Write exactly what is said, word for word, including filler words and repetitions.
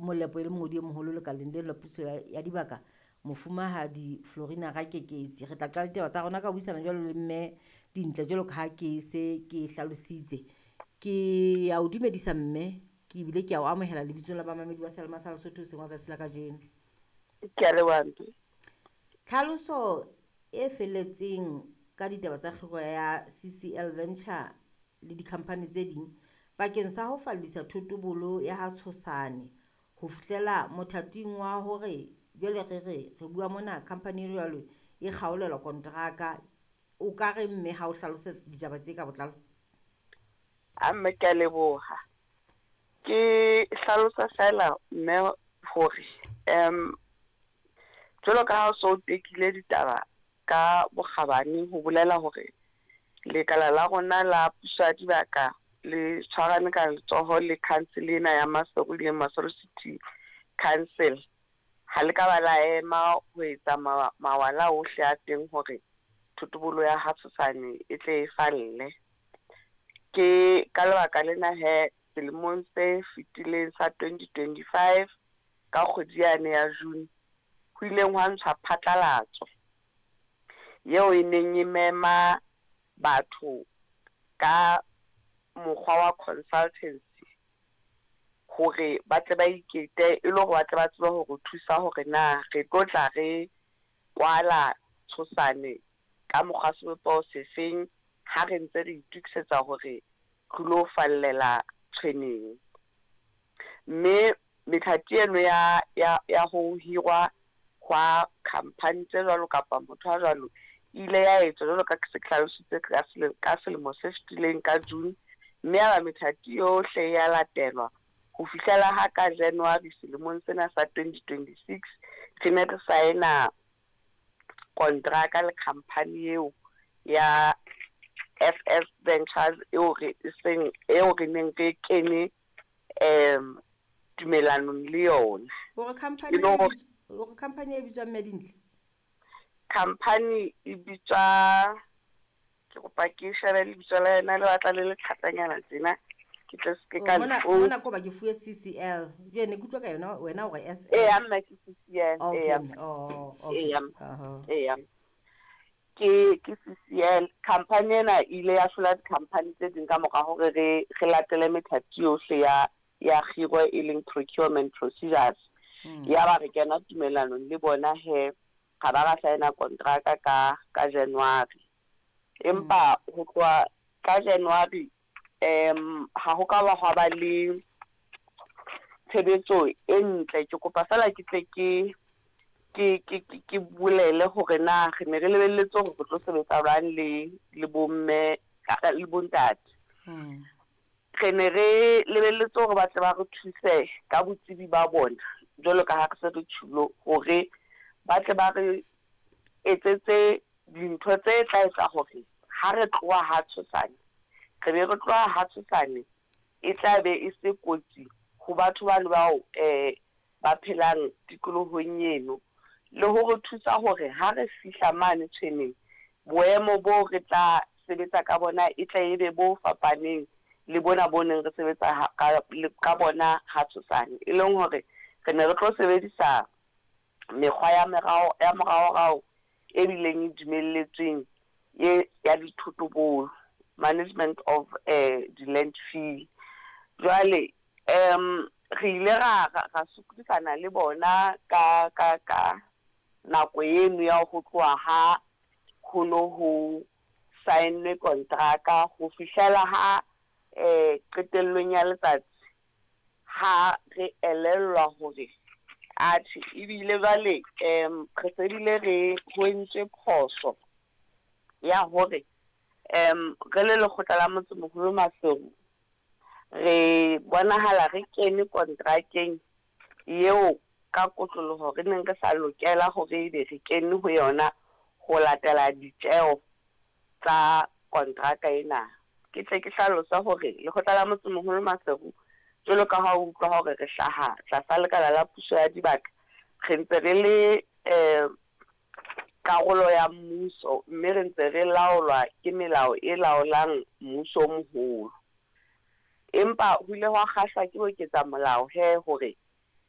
Molepo e le mongodi e moholo lekaleng leno la puso ya, ya dibaka, Mofumahadi Florina Rakeketsi. Re tla qala ditaba tsa rona ka ho buisana jwalo le mme Dintle jwalo ka ha ke se ke hlalositse. Ke ya o dumedisa mme, ke ebile ke ya o amohela lebitsong la bamamedi ba Sealema sa Lesotho hoseng wa tsatsi la kajeno. Ke a leboha mme. Tlhaloso e felletseng ka ditaba tsa kgiro ya C C L Venture le di-company tse ding bakeng sa ho fallisa thotobolo ya ha Tshosane ho fihlela mothating wa hore jwale re re re bua mona company e jwalo e kgaolelwa kontraka. O ka re mme ha o hlalose ditaba tse ka botlalo? A mme ke a leboha. Ke hlalosa fela mme hore um jwalo ka ha o so tekile ditaba ka bokgabane ho bolela hore lekala la rona la puso ya dibaka le tshwarane ka letsoho le council ena ya Maseru le Maseru City Council. Ha le ka ba la ema ho etsa mawala ohle a teng hore thotobolo ya ha Tshosane e tle e falle. Ke ka lebaka lena he selemong se fetileng sa twenty twenty-five ka kgwedi yane ya June ho ileng hwa ntshwa phatlalatso eo e neng e mema batho ka mokgwa wa consultancy hore ba tle ba ikete e le hore ba tle ba tsebe hore thusa hore na re tlo tla re kwala Tshosane ka mokgwa sebopeho sefeng ha re ntse re itokisetsa hore re lo fallela Tshweneng. Mme methati eno ya ya ya ho hirwa hwa company tse jwalo kapa motho a jwalo ile ya etswa jwalo ka se hlalositse ka selemo ka selemo se fetileng ka June, mme ya ba methati yohle ya latelwa ho fihlela ha ka January selemong sena sa twenty twenty-six re ne re saena kontraka le company eo ya F S Ventures eo re seng eo re neng re kene um tumellanong le yona. Hore company hore company e bitswang mme Dintle? Company e bitswa, ke kopa ke shebe lebitso la yona le batla le le thatanyana tjena ke tle se ke ka mona mona ko ba ke fuwe C C L. Jwale ne ke utlwa ka yona wena hore S L. Eh amma ke C C L. Okay. Oh okay. Eh ke ke C C L company ena ile ya hlola di-company tse ding ka mora hore re re latele methati yohle ya ya kgiro e leng procurement procedures. Ya ba re kena tumellanong le bona he ga ba ra saena kontraka ka ka January. Empa ho tloha ka January um ha ho ka ba hwa ba le tshebetso e ntle. Ke kopa fela ke tle ke ke ke ke bolele hore na re ne re lebelletse hore re tlo sebetsa jwang le le bomme le bontate. Re ne re lebelletse hore ba tle ba re thuse ka botsebi ba bona jwalo ka ha re se re tjhulo hore ba tle ba re etsetse dintho tse tla etsa hore ha re tloha ha Tshosane re be re tloha ha Tshosane e tla be e se kotsi ho batho bano bao eh ba phelang tikolohong eno, le hore thusa hore ha re fihla mane Tshweneng boemo bo re tla sebetsa ka bona e tla ebe bo fapaneng le bona bo neng re sebetsa ka ka bona ha Tshosane, e leng hore re ne re tlo sebedisa mekgwa ya merao ya moraorao e bileng e dumelletsweng e ya dithotobolo, management of eh di-landfill. Jwale um re ile ra ra sokodisana le bona ka ka ka nako eno ya ho tloha ha ho no ho saennwe kontraka ho fihlela ha eh qetellong ya letsatsi ha re elellwa hore atjhe ebile jwale um re se bile re ho entswe phoso ya hore um re le lekgotla la motsemoholo Maseru re bonahala re kene kontrakeng eo ka kotloloho re neng re sa lokela hore ebe re kene ho yona ho latela ditjeo tsa kontraka ena. Ke tle ke hlalosa hore lekgotla la motsemoholo Maseru jwalo ka ha o utlwa hore re hlaha tlasa lekala la puso ya dibaka, re ntse re le eh karolo ya mmuso mme re ntse re laolwa ke melao e laolang mmuso o moholo. Empa ho ile hwa kgahlwa ke ho eketsa molao he hore